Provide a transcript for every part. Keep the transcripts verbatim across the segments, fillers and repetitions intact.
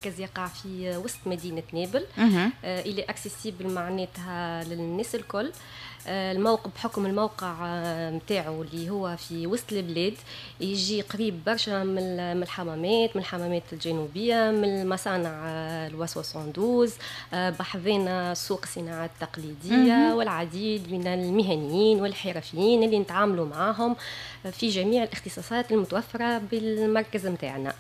المركز يقع في وسط مدينة نابل، il est accessible معناتها للناس الكل. آه، الموقع بحكم الموقع نتاعو اللي هو في وسط البلاد، يجي قريب برشا من الحمامات، من الحمامات الجنوبيه، من المصانع loi soixante-douze، آه، بحذينا سوق الصناعات التقليدية والعديد من المهنيين والحرفيين اللي نتعاملوا معاهم في جميع الاختصاصات المتوفرة بالمركز نتاعنا.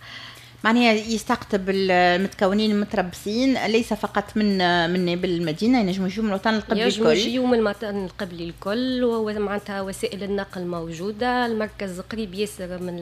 معناها يستقطب المتكونين المتربصين ليس فقط من من نابل المدينه، ينجموا يجيو من الوطن القبلي الكل. ينجموا يجيو من الوطن القبلي الكل، ومعناتها وسائل النقل موجوده، المركز قريب ياسر من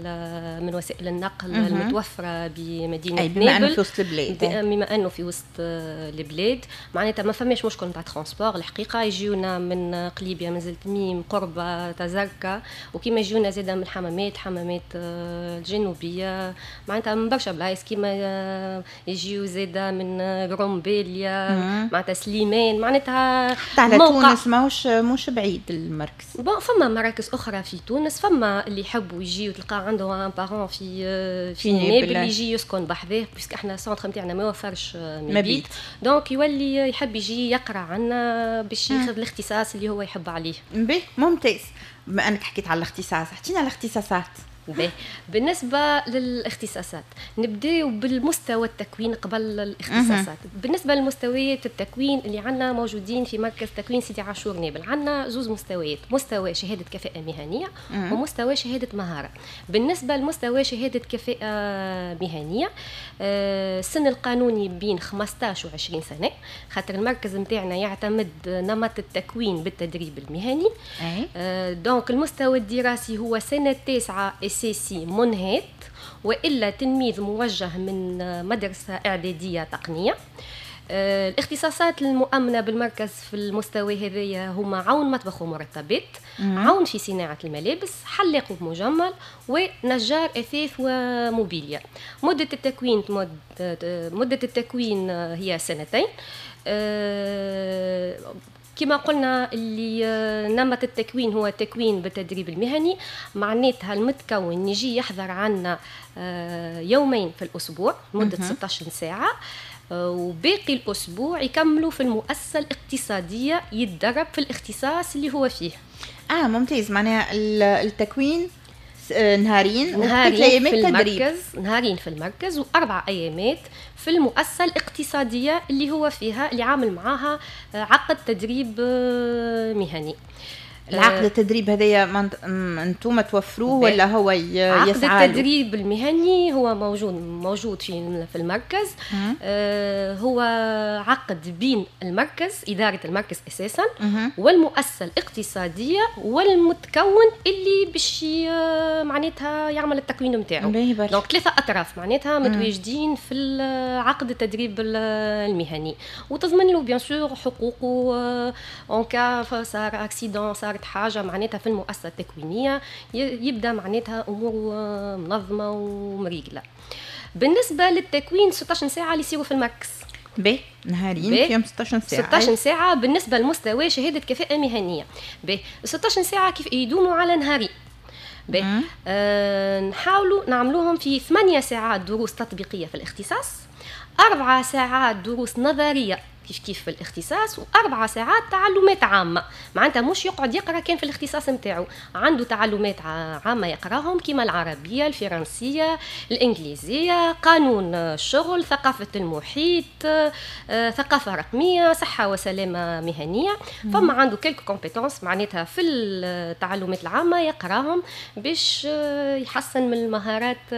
من وسائل النقل المتوفرة بمدينة أي بما انه في وسط البلاد. بما انه في وسط البلاد، معناتها ما فماش مشكل نتاع transport الحقيقه. يجيونا من قليبيا، منزل تميم، قربة، تازركة، وكيما يجيونا زاده من الحمامات، الحمامات الجنوبيه، معناتها من برشا بلايص، كيما يجيو زاده من قرمبالية، معناتها سليمان، معناتها على تونس ماهوش مش بعيد المركز. bon، فما مراكز اخرى في تونس، فما اللي يحبوا يجيو تلقى عنده un parent في في نابل يجي يسكن بحذاه، puisque احنا ال centre نتاعنا ما يوفرش مبيت، donc يولي يحب يجي يقرا عنا باش ياخذ الاختصاص اللي هو يحب عليه. باهي، ممتاز. بما انك حكيت على الاختصاص، احكينا على الاختصاصات. باهي، بالنسبة للاختصاصات نبداو بالمستوى التكوين قبل الاختصاصات. بالنسبة لمستويات التكوين اللي عندنا موجودين في مركز تكوين سيدي عاشور نابل، عندنا زوز مستويات: مستوى شهادة كفاءة مهنية ومستوى شهادة مهارة. بالنسبة لمستوى شهادة كفاءة مهنية، آه، السن القانوني بين خمسطاش و عشرين سنة، خاطر المركز نتاعنا يعتمد نمط التكوين بالتدريب المهني. آه، donc المستوى الدراسي هو سنة تاسعة أساسي منهات والا تلميذ موجه من مدرسه اعدادية تقنيه. آه، الاختصاصات المؤمنة بالمركز في المستوى هذايا هما عون مطبخ ومرطبات، عون في صناعة الملابس، حلاق مجمل، ونجار أثاث وموبيليا. مدة التكوين مدة التكوين هي سنتين. آه، كما قلنا اللي آه، نمط التكوين هو تكوين بالتدريب المهني، معناتها المتكون يجي يحضر عنا يومين في الأسبوع مدة ستطاش ساعة، وباقي الاسبوع يكملوا في المؤسسة الاقتصاديه، يتدرب في الاختصاص اللي هو فيه. اه ممتاز، معناها التكوين آه، نهارين. نهارين في المركز، نهارين في المركز واربع ايامات في المؤسسة الاقتصادية اللي هو فيها، اللي عامل معاها آه، عقد تدريب آه، مهني. العقد التدريب هذايا انتم توفروه ولا هو يسعى؟ عقد التدريب المهني هو موجود موجود في في المركز. آه هو عقد بين المركز، ادارة المركز اساسا، والمؤسسة الاقتصادية والمتكون اللي باش معناتها يعمل التكوين نتاعو. donc ثلاثة اطراف معناتها متواجدين في عقد التدريب المهني، وتضمن له bien sûr حقوقه en cas صار accident، صارت حاجة معناتها في المؤسسة التكوينيه، يبدا معناتها اموره منظمة ومريقله. بالنسبة للتكوين ستطاش ساعة اللي يصيروا في المركز. باهي، نهارين فيهم ستطاش ساعة. ستطاش ساعة بالنسبة لمستوى شهادة كفاءة مهنية. باهي، ستطاش ساعة كيف يدوموا على نهارين؟ باهي، آه نحاولوا نعملوهم في ثمانية ساعات دروس تطبيقية في الاختصاص، أربعة ساعات دروس نظرية كيف كيف في الاختصاص، واربع ساعات تعلمات عامه. معناتها مش يقعد يقرا كان في الاختصاص نتاعو، عنده تعلمات عامة يقراهم كيما العربيه، الفرنسيه، الانجليزيه، قانون الشغل، ثقافة المحيط، آه، ثقافة رقميه، صحة وسلامه مهنيه. فما عنده quelques compétences معناتها في التعلمات العامة يقراهم باش آه، يحسن من المهارات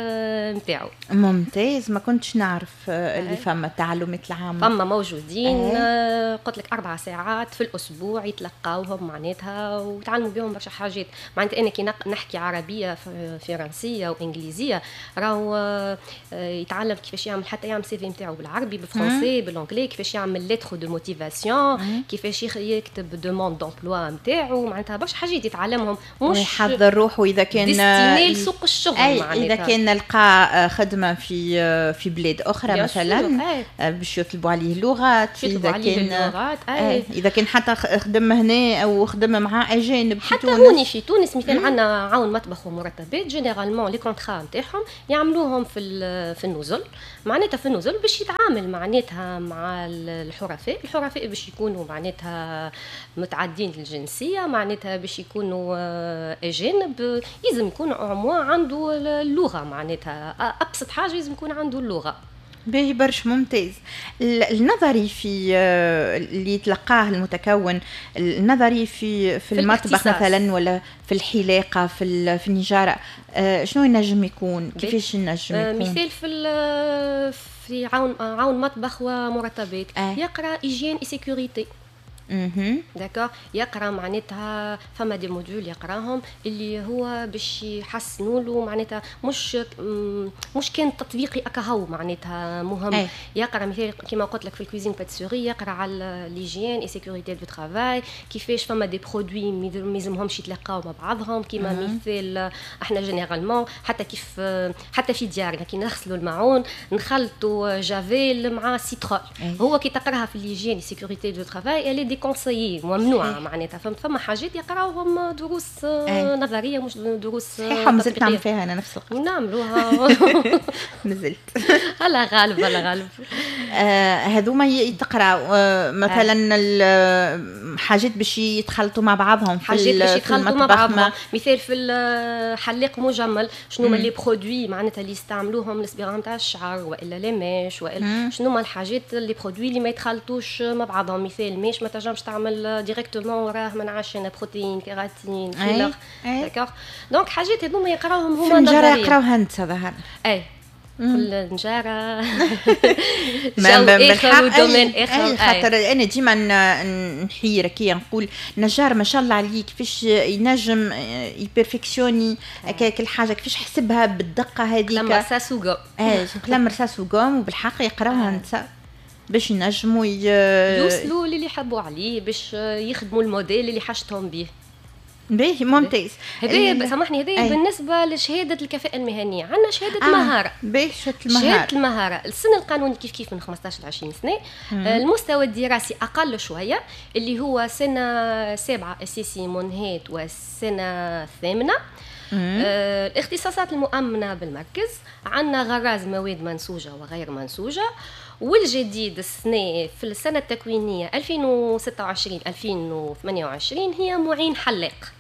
نتاعو. ممتاز، ما كنتش نعرف اللي فما التعلمات العامه. فما موجودين، آه، قلت لك اربع ساعات في الاسبوع يتلقاوهم معناتها وتعلموا بهم برشا حاجات. معناتها انا كي نحكي عربيه، فرنسية وانجليزيه، راهو آه، يتعلم كيفاش يعمل حتى يعمل CV نتاعو بالعربي، بال français، بال anglais، كيفاش يعمل lettre de motivation، كيفاش يكتب demande d'emploi نتاعو، معناتها برشا حاجات يتعلمهم. مش يحضر روحه اذا كان destiné لسوق الشغل. معناتها اذا كان لقى خدمة في في بلاد اخرى مثلا، باش يطلبوا عليه لغات. يطلبوا عليه اللغات. آه. اذا كان حتى خدم هنا او خدم مع اجانب في حتى تونس. هوني في تونس مثال عندنا عون مطبخ ومرتبات، généralement les contrats نتاعهم يعملوهم في في النزل، معناتها في النزل باش يتعامل معناتها مع الحرفاء، الحرفاء باش يكونوا معناتها متعدين الجنسيه، معناتها باش يكونوا اجانب، لازم يكون au moins عنده اللغه، معناتها ابسط حاجة لازم يكون عنده اللغه. باهي برش، ممتاز. النظري في اللي يتلقاه المتكون، النظري في في, في المطبخ مثلا ولا في الحلاقة في في النجاره، شنو ينجم يكون؟ كيفاش ينجم يكون؟ مثال في في عون عون مطبخ ومرتبات آه. يقرا hygiène et sécurité، d'accord، يقرا معناتها فما des modules يقراهم اللي هو باش يحسنوا له، معناتها مش مش كان تطبيقي اكاهو معناتها مهم. أي. يقرا مثال كيما قلت لك في ال cuisine pâtisserie يقرا على l'hygiène et sécurité du travail، كيفاش فما des produits ما يلزمهمش يتلاقاو مع بعضهم. كيما مثال احنا généralement حتى كيف حتى في ديارنا كي نغسلوا الماعون نخلطوا جافيل مع citrol. هو كي تقراها في l'hygiène sécurité du travail elle est déconseillée، ممنوعة معناتها. فهمت؟ فما حاجات يقراوهم دروس أي. نظرية مش دروس. صحيحه، مازلت نعمل فيها انا نفس الوقت. نعملوها. مازلت. الله غالب، الله غالب. آه هذوما يتقراو آه مثلا حاجات باش يتخلطوا مع بعضهم. في حاجات باش يتخلطوا مع بعضهم، مثال في الحلاق مجمل شنو هما les produits معناتها اللي يستعملوهم، الصبيغه نتاع الشعر والا les mèches والا شنو هما الحاجات les produits اللي ما يتخلطوش مع بعضهم. مثال mèche ما تنجمش تعمل directement وراه ما نعرفش انا protéine، kératine، filler، d'accord؟ donc حاجات هذوما يقراوهم هما. في النجاره يقراو هندسة ظهر. اي، في النجارة جو اخر و domaine اخر. خاطر انا ديما نحير كي نقول نجار ما شاء الله عليه كيفاش ينجم ي perfectionner كل حاجه، كيفاش حسبها بالدقه هذيك. قلم رصاص و gomme. اي، قلم رصاص و gomme، وبالحق يقراوها هندسة باش ينجموا يوصلوا للي يحبوا عليه، باش يخدموا الموديل اللي حاجتهم به. باهي، ممتاز. هذا سامحني، هذا بالنسبة لشهادة الكفاءة المهنيه. عندنا شهادة آه مهاره. باهي، شهادة المهاره. شهادة المهارة السن القانوني كيف كيف من خمسطاش ل عشرين سنه. مم. المستوى الدراسي اقل شويه، اللي هو سنة سابعه اساسي منهات والسنة الثامنه. آه الاختصاصات المؤمنة بالمركز عندنا غراز مواد منسوجه وغير منسوجه، والجديد السنة في السنة التكوينية ألفين وستة وعشرين ألفين وثمانية وعشرين هي معين حلاق.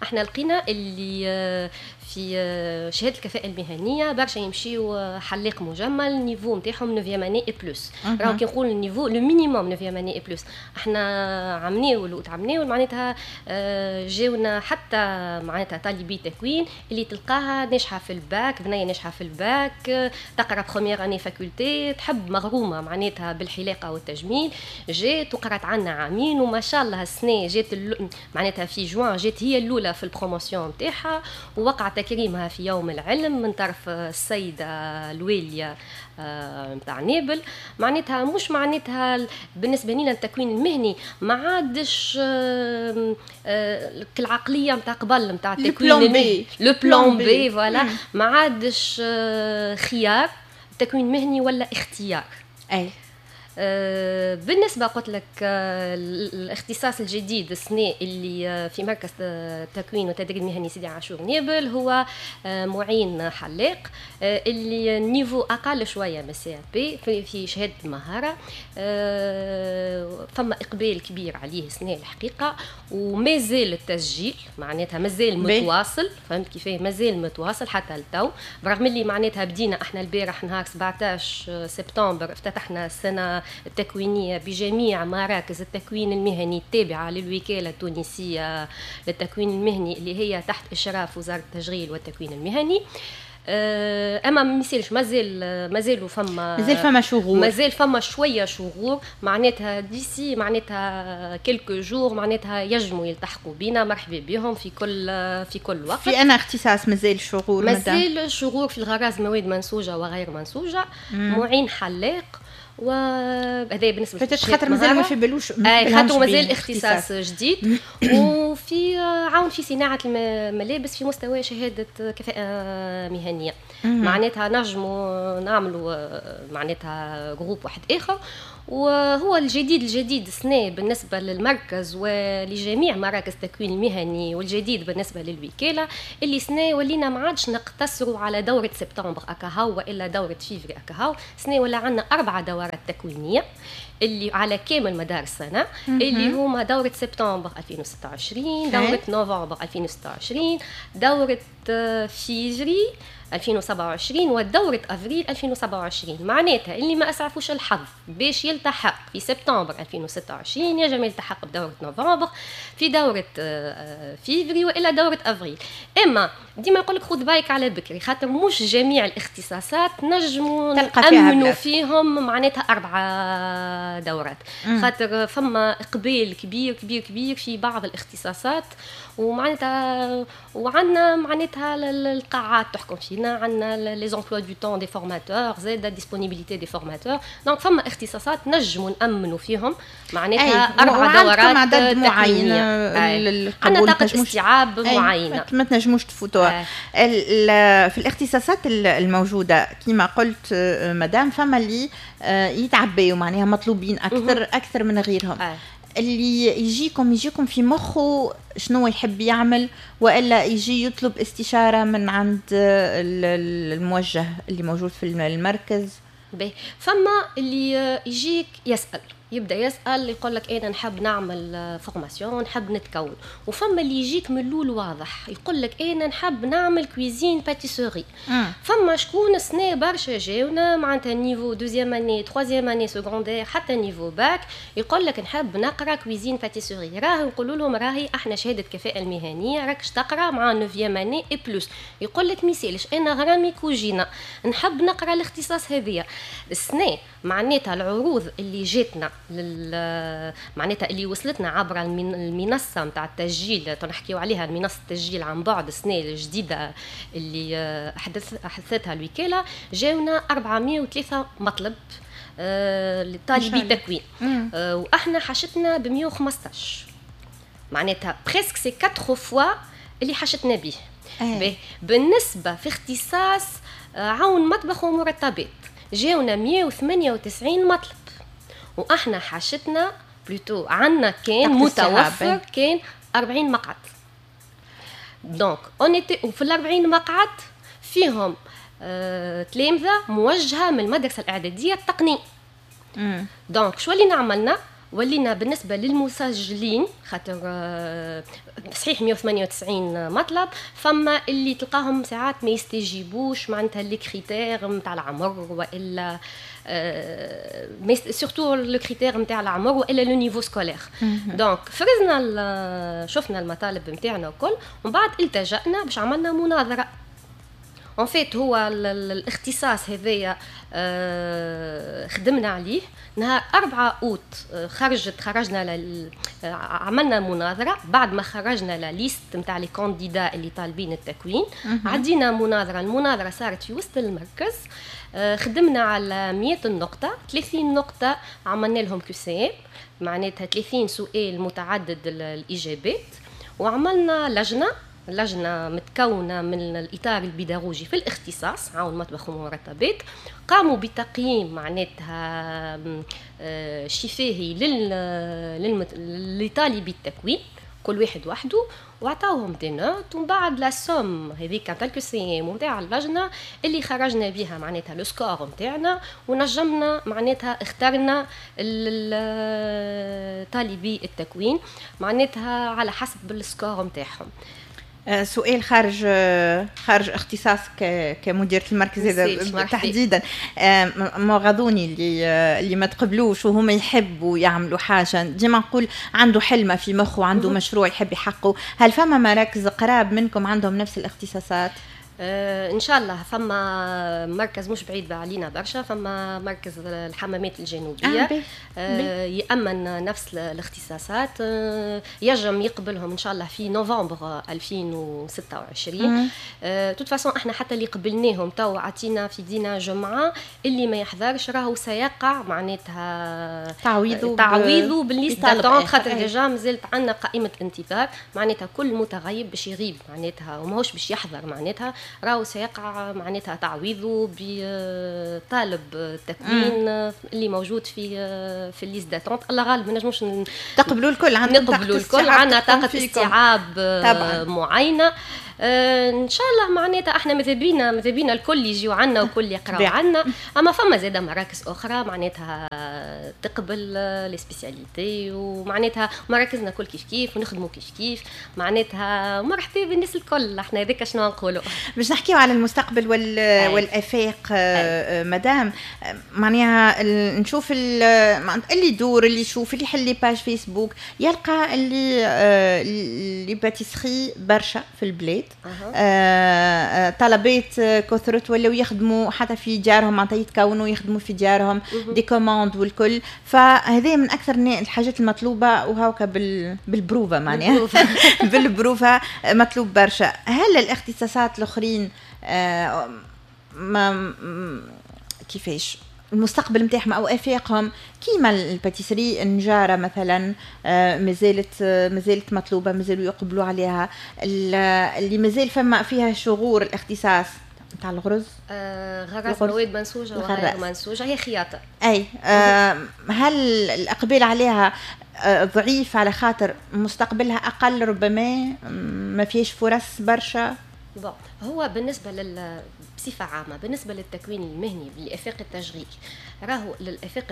احنا لقينا اللي آه، في آه، شهادة الكفاءة المهنية برشا يمشيو آه، حلاق مجمل niveau نتاعهم neuvième année et plus. راهو كي نقول ال niveau le minimum neuvième année et plus، احنا عمناول وتعمناول معناتها جاونا حتى معناتها طالبي تكوين اللي تلقاها ناجحة في الباك، بنيه ناجحة في الباك، تقرا première année faculté، تحب مغرومه معناتها بالحلاقه والتجميل، جات وقرات عنا عامين وما شاء الله السنة جات معناتها في جوان جات هي الاولى في ال promotion نتاعها، ووقع تكريمها في يوم العلم من طرف السيدة الواليه نتاع نابل. معناتها مش معناتها بالنسبة لنا التكوين المهني ما عادش العقلية نتاع قبل نتاع التكوين le plan B، voilà، ما عادش خيار التكوين المهني ولا اختيار. اي. آه، بالنسبة قلت لك آه، الاختصاص الجديد السنة اللي آه، في مركز التكوين والتدريب المهني سيدي عاشور نابل هو معين حلاق، اللي ال niveau أقل شوية من CAP في شهادة المهارة. فما إقبال كبير عليه السنة الحقيقة، ومازال التسجيل معناتها مازال متواصل، فهمت كيفاه؟ مازال متواصل حتى لتو، برغم اللي معناتها بدينا احنا البارح نهار سبعطاش سبتمبر افتتحنا السنة التكوينية بجميع مراكز التكوين المهني التابعة للوكالة التونسية للتكوين المهني اللي هي تحت إشراف وزارة التشغيل والتكوين المهني. آه، اما ما يصيرش، مازال مازالوا فما مازال فما شغور. مازال فما شوية شغور، معناتها d'ici معناتها quelques jours معناتها يجموا يلتحقوا بنا، مرحبا بهم في كل في كل وقت. في انا اختصاص مازال شغور؟ مازال شغور في الغراز مواد منسوجه وغير منسوجه، معين حلاق. وهذا بالنسبة peut-être خاطر مازال ما في بالوش. اي، خاطر مازال اختصاص جديد. وفي عون في صناعة الملابس في مستوى شهادة كفاءة مهنيه، معناتها نجموا نعملوا معناتها groupe واحد اخر. وهو الجديد الجديد السنة بالنسبة للمركز ولجميع مراكز التكوين المهني، والجديد بالنسبة للوكالة اللي سنة ولينا ما عادش نقتصروا على دورة سبتمبر أكاهو وإلا دورة فيفري أكاهو. سنة ولا عندنا أربعة دورات تكوينية اللي على كامل مدار السنة، اللي هما دورة سبتمبر ألفين وستة وعشرين، دورة نوفمبر ألفين وستة وعشرين، دورة فيفري ألفين وسبعة وعشرين، ودورة أفريل ألفين وسبعة وعشرين. معناتها اللي ما أسعفوش الحظ باش يلتحق في سبتمبر ألفين وستة وعشرين ينجم يلتحق بدورة نوفمبر، في دورة آه، فيفري وإلا دورة أفريل. إما ديما نقول لك خذ بايك على بكري، خاطر مش جميع الاختصاصات نجموا نأمنوا فيهم معناتها أربعة دورات، خاطر فما إقبال كبير كبير كبير في بعض الاختصاصات، ومعناتها وعندنا معناتها القاعات تحكم فينا، عندنا les emplois du temps des formateurs، زاد disponibilité des formateurs. donc فما اختصاصات نجموا نامنوا فيهم معناتها اربع دورات. عدد معين. عندنا طاقة استيعاب معينه. ما تنجموش تفوتوها. في الاختصاصات الموجوده، كما قلت مدام، فما اللي آه، يتعبيوا، معناها مطلوبين اكثر اكثر من غيرهم. اللي يجيكم، يجيكم في مخه شنو يحب يعمل والا يجي يطلب استشاره من عند الموجه اللي موجود في المركز؟ باهي، فما اللي يجيك يسال، يبدا يسال، يقول لك انا نحب نعمل formation، نحب نتكون. وفما اللي يجيك من الاول واضح، يقول لك انا نحب نعمل cuisine pâtisserie. فما شكون سنة برشا جاونا معناتها niveau deuxième année، troisième année secondaire، حتى niveau bac، يقول لك نحب نقرا cuisine pâtisserie. راه نقولوا لهم راهي احنا شهادة كفاءة المهنيه، راك تقرا مع neuvième année et plus. يقول لك ميسالش، انا غرامي كوجينه، نحب نقرا الاختصاص هذيا. السنة معناتها العروض اللي جاتنا لل معناتها اللي وصلتنا عبر المنصة نتاع التسجيل، نحكيو عليها، المنصة التسجيل عن بعد السنة الجديدة اللي احدث احدثتها الوكاله، جاونا أربعمية وثلاثة مطلب آه، لطالبي التكوين، آه، واحنا حاجتنا ب مية وخمسطاش، معناتها presque c'est quatre fois اللي حاجتنا به. أه. بالنسبة في اختصاص آه، عون مطبخ ومرطبات جاونا مية وثمانية وتسعين مطلب، واحنا حاجتنا plutôt عندنا كان متوفر كان أربعين مقعد. donc on était وفي ال أربعين مقعد فيهم آه تلامذه موجهة من المدرسة الاعدادية التقنيه. donc شو ولينا عملنا؟ ولينا بالنسبة للمسجلين، خاطر آه، صحيح مية وثمانية وتسعين مطلب، فما اللي تلقاهم ساعات ما يستجيبوش معناتها les critères نتاع العمر والا surtout le critère نتاع العمر والا le niveau scolaire. donc فرزنا، شفنا المطالب نتاعنا الكل، ومن بعد التجأنا باش عملنا مناظره. en fait هو الاختصاص هذايا آه، خدمنا عليه نهار أربعة اوت، آه، خرجت خرجنا لل... آه، عملنا مناظرة بعد ما خرجنا la liste نتاع les candidats اللي طالبين التكوين. عدينا مناظره، المناظرة صارت في وسط المركز. خدمنا على مية نقطه، ثلاثين نقطة عملنا لهم QCM، معناتها ثلاثين سؤال متعدد الاجابات، وعملنا لجنه لجنة متكونة من الإطار البيداغوجي في الاختصاص عون مطبخ ومرطبات، قاموا بتقييم معناتها آه، شفاهي لطالبي التكوين كل واحد وحده، وعطاوهم des notes. ومن بعد la somme هذيك تاع ال QCM نتاع اللجنة اللي خرجنا بها معناتها le score نتاعنا، ونجمنا معناتها اخترنا طالبي التكوين معناتها على حسب ال score نتاعهم. آه، سؤال خارج آه، خارج اختصاصك كمديرة المركز هذا تحديدا. آه، مغاضوني اللي اللي ما تقبلوش وهم يحبوا يعملوا حاجة، ديما نقول عنده حلمة في مخه وعنده مشروع يحب يحققه. هل فما مراكز قراب منكم عندهم نفس الاختصاصات؟ آه ان شاء الله فما مركز مش بعيد علينا برشا، فما مركز الحمامات الجنوبية. آه آه يامن نفس الاختصاصات، آه يجم يقبلهم ان شاء الله في نوفمبر ألفين وستة وعشرين. toute façon احنا حتى اللي قبلناهم تو عطينا في دينا جمعه، اللي ما يحضرش راهو سيقع معناتها تعويضه. تعويضه بال liste d'attente، خاطر déjà مازالت عندنا قائمة انتظار. معناتها كل متغيب باش يغيب معناتها وماهوش باش يحضر، معناتها راهو سيقع معناتها تعويضه بطالب تكوين اللي موجود في في ال liste d'attente. الله غالب، ما نجموش. تقبلوا الكل؟ عندكم؟ نقبلوا الكل، عندنا طاقة استيعاب معينه. آه ان شاء الله معناتها احنا ماذا بينا ماذا بينا الكل يجيو عنا وكل يقراو عنا، اما فما زاده مراكز اخرى معناتها تقبل les spécialités، ومعناتها مراكزنا كل كيف كيف ونخدموا كيف كيف، معناتها مرحبا بالناس الكل، احنا هذاك شنو نقولوا. باش نحكيو على المستقبل وال أي. والافاق. آه، مدام، معناها نشوف اللي يدور، اللي يشوف، اللي يحل les pages فيسبوك، يلقى اللي آه، les pâtisseries برشا في البلاد. أه. طلبات كثرت، ولاو يخدموا حتى في ديارهم، معناتها يتكونوا يخدموا في ديارهم des commandes والكل، فهذه من اكثر الحاجات المطلوبه، وهاكا بالبروفا، معناها بالبروفا مطلوب برشا. هل الاختصاصات الاخرين آه ما كيفاش المستقبل نتاعهم او افاقهم؟ كيما ال pâtisserie، النجاره مثلا، آه، مازالت مازالت مطلوبه؟ مازالوا يقبلوا عليها؟ اللي مازال فما فيها شغور الاختصاص نتاع الغرز؟ آه غرز مواد منسوجه وغير منسوجه، هي خياطه. اي، آه هل الاقبال عليها آه ضعيف على خاطر مستقبلها اقل، ربما ما فيش فرص برشا؟ bon، هو بالنسبة لل بصفة عامة بالنسبة للتكوين المهني لافاق التشغيل، راهو للافاق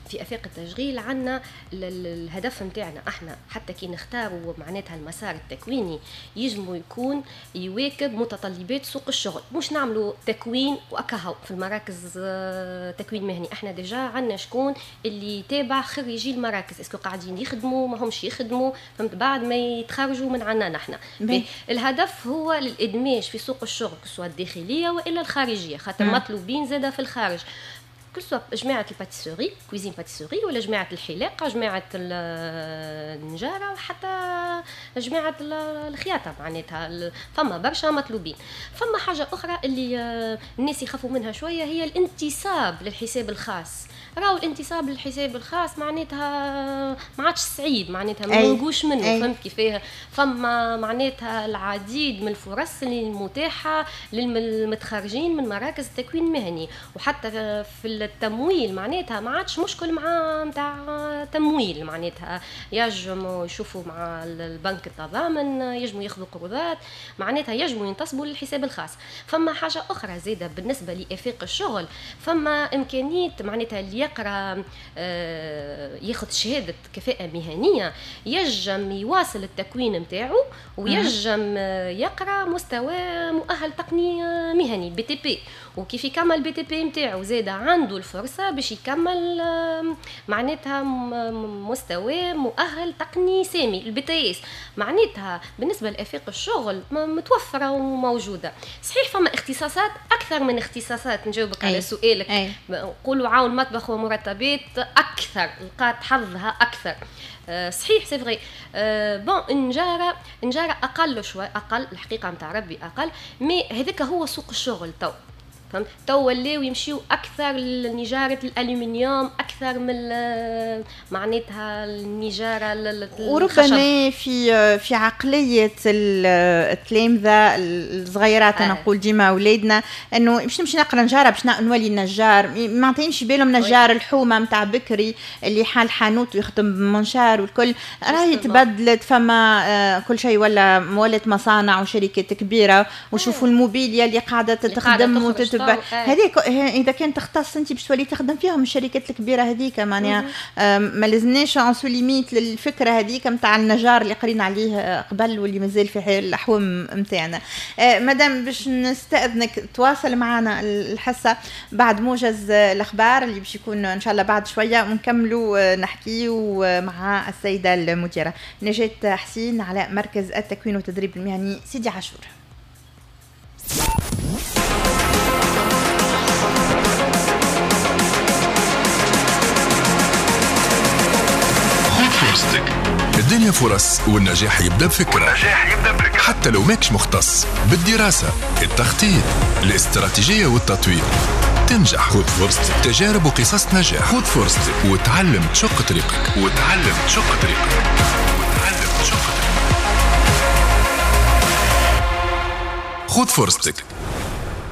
في افاق التشغيل عندنا الهدف نتاعنا احنا حتى كي نختاروا معناتها المسار التكويني يجمو يكون يواكب متطلبات سوق الشغل، مش نعملوا تكوين وأكهو في المراكز. آه، تكوين مهني، احنا déjà عندنا شكون اللي يتابع خريجي المراكز، est-ce que قاعدين يخدموا ما همش يخدموا، فهمت؟ بعد ما يتخرجوا من عندنا نحن، الهدف هو الادماج في سوق الشغل، سواء الداخلية والا الخارجيه، خاطر مطلوبين زاده في الخارج، que ce soit جماعة ال pâtisserie، cuisine pâtisserie، ولا جماعة الحلاقه، جماعة النجاره، وحتى جماعة الخياطه، معناتها فما برشا مطلوبين. فما حاجة اخرى اللي آه، الناس يخافوا منها شويه، هي الانتساب للحساب الخاص. راهو الانتساب للحساب الخاص معناتها ما عادش صعيب، معناتها ما نقوش منه، فهمت كيفاه؟ فما معناتها العديد من الفرص اللي المتاحة للمتخرجين من مراكز التكوين المهني، وحتى في التمويل معناتها ما عادش مشكل مع نتاع تمويل، معناتها يجموا يشوفوا مع البنك التضامن، يجموا ياخذوا قروضات، معناتها يجموا ينتصبوا للحساب الخاص. فما حاجة اخرى زاده بالنسبة لافاق الشغل، فما امكانية معناتها اللي يقرا آه، ياخذ شهادة كفاءة مهنية يجم يواصل التكوين نتاعو ويجم يقرا مستوى مؤهل تقني مهني BTP، وكيف يكمل BTP نتاعو زاد عنده الفرصة باش يكمل معناتها مستوى مؤهل تقني سامي ال BTS. معناتها بالنسبة لافاق الشغل متوفرة وموجوده. صحيح فما اختصاصات اكثر من اختصاصات، نجاوبك على سؤالك، نقولوا عاون مطبخ ومرطبات اكثر لقات حظها اكثر. آه، صحيح، c'est vrai. bon، النجاره النجاره اقل شوي، اقل الحقيقة نتاع ربي اقل، mais هذاك هو سوق الشغل تو، فهمت؟ تو ولاو يمشيو اكثر لنجاره الالومنيوم اكثر من معناتها النجاره. وربما في في عقلية التلامذه الصغيرات، انا آه. نقول ديما اولادنا انه باش نمشي نقرا نجاره باش نولي نجار، ما يمشي بالهم نجار الحومه نتاع بكري اللي حال حانوت ويخدم بمنشار والكل. راهي تبدلت، فما آه، كل شيء ولا ولات مصانع وشركات كبيره، وشوفوا الموبيليا اللي قاعدة تخدم وتتبع هذيك. اذا كان تختص انت باش تولي تخدم فيهم الشركات الكبيرة هذيك، معناها ما لازمناش on se limite للفكرة هذيك نتاع النجار اللي قرينا عليه قبل واللي مازال في الحوم نتاعنا. مادام، باش نستاذنك تواصل معنا الحصة بعد موجز الاخبار اللي باش يكون ان شاء الله بعد شويه، ونكملوا نحكيو مع السيدة المديرة نجاة حسين على مركز التكوين والتدريب المهني سيدي عاشور. الدنيا فرص والنجاح يبدأ بفكرة، والنجاح يبدأ بفكرة. حتى لو ماكش مختص بالدراسة، التخطيط، الاستراتيجية والتطوير تنجح. خذ فرصتك، تجارب وقصص نجاح. خذ فرصتك وتعلم تشق طريقك، وتعلم تشق طريقك، وتعلم تشق طريقك. خذ فرصتك.